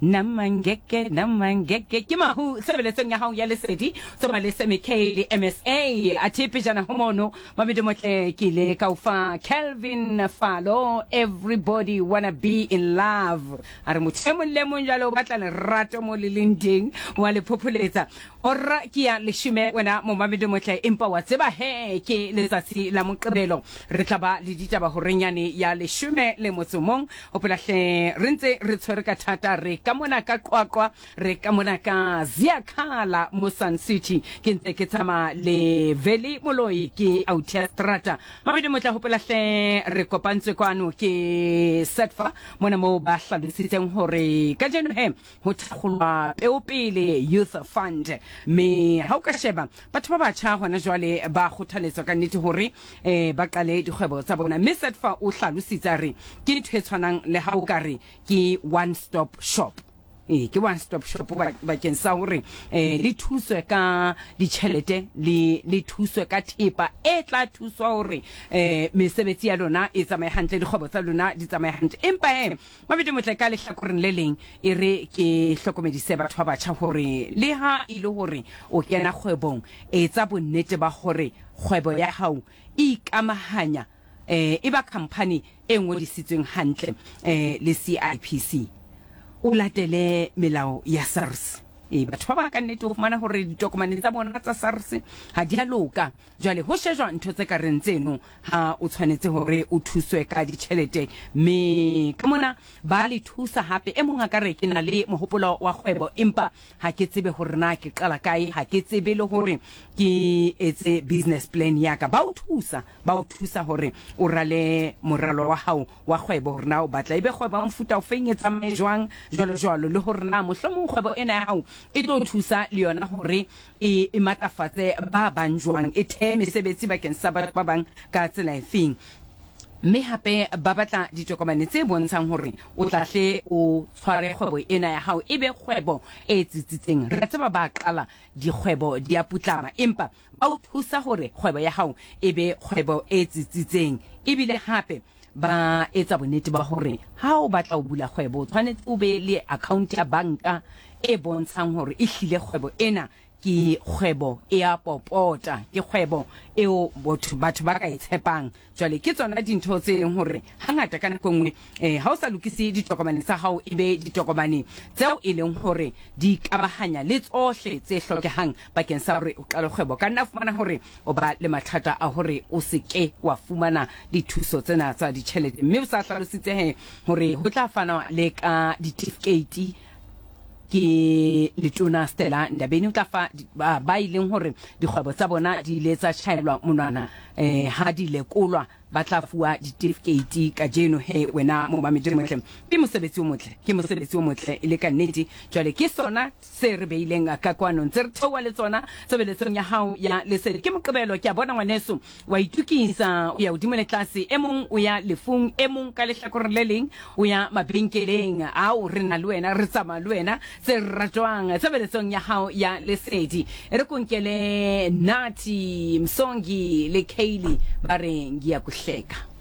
Namangeke, namangeke, ke mahu tshebeletsong ya hao ya lesedi, tsoma le Semi K le MSA. Athe pejana ho mono, Mamedi Motle, ke ile ka o fa Calvin Falo, Everybody Wanna Be in Love. A re motho e mong le mong jwale o batla lerato mo le leng teng, wa le phopholetsa. Hora ke ya leshome wena momamedi motle, empa wa tseba he ke letsatsi la Moqebelo, re tla ba le ditaba horeng yane ya leshome le motso mong. Hopola hle re ntse re tshwere ka thata, re ka mona ka Qwaqwa, re ka mona ka Ziyakhala mo Sun City. Ke ntse ke tsamaya le Veli Moloi ke Autia Strata. Mamedi motle, hopola hle re kopantswe kwano ke Setfa mona moo ba hlalositseng hore kajeno he ho thakgolwa Peopele Youth Fund. Mme ha o ka sheba batho ba batjha hona jwale ba kgothaletswa ka nnete hore um ba qale dikgwebo tsa bona. Mme Setfa o hlalositse a re ke ntho e tshwanang le ha o ka re ke one stop shop. Ee, ke one stop shop bakeng sa hore um le thuswe ka ditjhelete le le thuswe ka thepa e tla thuswa hore um mesebetsi ya lona e tsamaye hantle, dikgwebo tsa lona di tsamaye hantle. Empa he Mabedi Motle, ka lehlakoreng le leng, e re ke hlokomedise batho ba batjha hore leha e le hore o kena kgwebong, etsa bonnete ba hore kgwebo ya hao e ikamahanya eh, e ba khamphani e ngodisitsweng hantle eh, le CIPC. O latele melao ya SARS. E, batho ba bang ka nnete o fumana hore ditokomane tsa bona tsa SARS ha di a loka. Jwale ho shejwa ntho tse ka reng tseno ha o tshwanetse hore o thuswe ka ditjhelete, mme ka mona ba le thusa hape. E mong a ka re, Ke na le mohopolo wa kgwebo, empa ha ke tsebe hore na ke qala kae, ha ke tsebe le hore ke etse business plan ya ka. Ba o thusa, ba o thusa hore o rale moralo wa hao wa kgwebo, hore na o batla e be kgwebo ya mofuta ofeng, e tsamaye jwang, jwalo jwalo, le hore na mohlomong kgwebo ena ya hao e tlo thusa le yona hore e, e matlafatse ba bang jwang, e thee mesebetsi bakeng sa batho ba bang ka tsela efeng. Mme hape ba batla ditokomane tse bontshang hore o tla hle o tshware kgwebo ena ya hao e be kgwebo e tsitsitseng. Re a tseba ba qala dikgwebo di a putlama, empa ba o thusa hore kgwebo ya hao e be kgwebo e tsitsitseng. Ebile hape ba etsa bonnete ba hore ha o batla ho bula kgwebo o tshwanetse o be le account ya banka e bontshang hore e hlile kgwebo ena ke kgwebo e a popota, ke kgwebo eo botho batho ba ka e tshepang. Jwale ke tsona dintho tse leng hore hangata ka nako nngwe eh, ha o sa lokise ditokomane tsa hao e be ditokomane tseo e leng hore di kabahanya le tsohle tse hlokehang bakeng sa hore o qale kgwebo, ka nna fumana hore o ba le mathata a hore o se ke wa fumana dithuso tsena tsa ditjhelete. Mme o sa hlalositse he hore ho tla fanwa le ka ditifikeiti ke letona Stella Ndabeni, o tla fa ba ileng hore dikgwebo tsa bona di ile tsa tjhaelwa monwana eh, ha di lekolwa, ba tla fuwa ditifikeiti kajeno. He wena momamedi motle, ke mosebetsi o motle, ke mosebetsi o motle e le ka nnete. Jwale ke sona se re beileng ka kwano, ntse re theoha le tsona tshebeletsong ya hao ya lesedi. Ke Moqebelo, ke a bona ngwaneso wa itukisa, o ya hodimo le tlase, e mong o ya lefung, e mong ka lehlakoreng le leng o ya mabenkeleng. Ao, re na le wena, re tsamaya le wena, tse ratwang tshebeletsong ya hao ya lesedi. E re konkele Nathi Msongi le Kaylee ba re ngiyakuhleka.